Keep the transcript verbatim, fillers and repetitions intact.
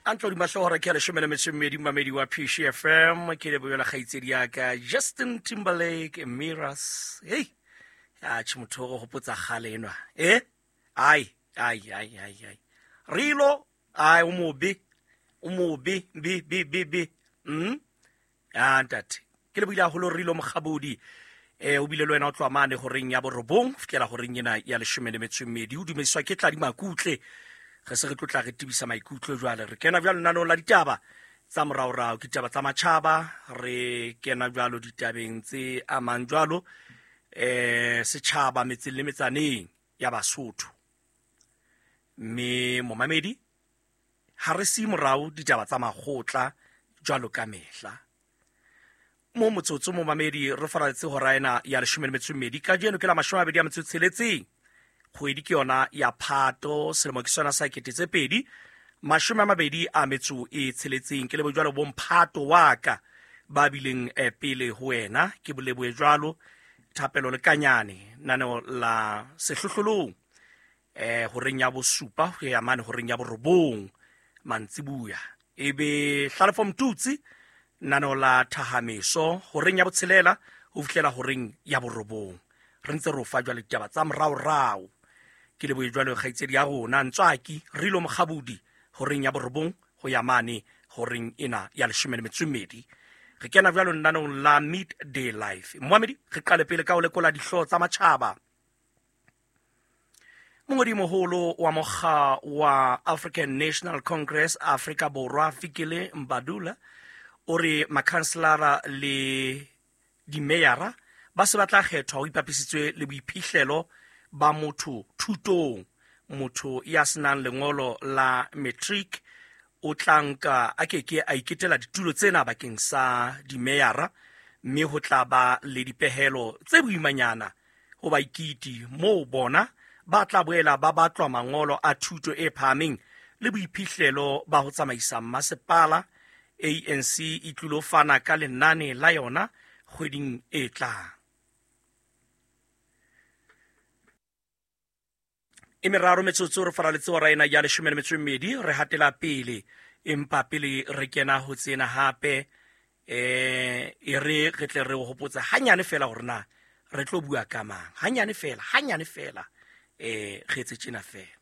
A ntlo dimahlohora ke a leshome le metso e mmedi, mamedi wa P C F M. Ke lebohela kgaitsedi ya ka Justin Timberlake Mirrors. Hey, atjhe motho o re hopotsa kgale enwa. Eh? Ai, ai, ai, ai, ai. Rilo, ai o mobe. O mobe, be be be be. Mm? Ah, ntate. Ke lebohile haholo Rilo Mokgabodi. Eh, o bile le wena o tloha mane horeng ya borobong, fihlela horeng ena ya leshome le metso e mmedi. O dumediswa ke Tladi Makutle. Re se re tlotla re tebisa maikutlo jwale. Re kena jwalo lenaneong la ditaba tsa moraorao, ke ditaba tsa matjhaba. Re kena jwalo ditabeng tse amang jwalo eh setjhaba metseng le metsaneng ya Basotho. Mme momamedi, ha re siye morao ditaba tsa makgotla jwalo ka mehla. Mo motsotso momamedi re faraletse hora ena ya leshome le metso e mmedi. Kajeno ke la mashome a mabedi a metso e tsheletseng. Kgwedi ke yona ya Phato, selemo ke sona sa kete tse pedi mashome a mabedi a metso e tsheletseng. Ke lebohe jwalo bomphato wa ka ba bileng eh, pele ho wena. Ke bolebohe jwalo Thapelo le Kanyane, naneo la sehlohlolong eh horeng ya bosupa ho ya mane horeng ya borobong mantsibuya. Ebe Hlalefo Mtutsi, naneo la thahameso horeng ya botshelela ho fihlela horeng ya borobong. Re ntse re o fa jwale ditaba tsa moraorao. Ke lebohe jwalo kgaitsedi ya rona Ntswaki Rilo Mokgabodi horeng ya borobong ho ya mane horeng ena ya leshome le metso e mmedi. Re kena jwalo lenaneong la Midday Life. Moamedi, re qale pele ka ho lekola dihlooho tsa matjhaba. Mongodimoholo wa mokga wa African National Congress Afrika Borwa Fikile Mbadula o re makhanselara le dimeyara ba se ba tla kgethwa ho ipapisitswe le boiphihlelo ba motho thutong. Motho ya senang lengolo la matric o tla nka a keke a iketela ditulo tsena bakeng sa dimeyara, mme ho tla ba le dipehelo tse boimanyana ho baikiti moo bona ba tla boela ba batlwa mangolo a thuto e phahameng le boiphihlelo ba ho tsamaisa masepala. A N C e tlilo fana ka lenane la yona kgweding e tlang. E meraro metsotso re faraletse hora ena ya leshome le metso e mmedi, re hatela pele, empa pele re kena ho tsena hape eh e re re tle re o hopotse hanyane fela hore na re tlo bua ka mang. Hanyane fela, hanyane fela eh re etse tjena fela.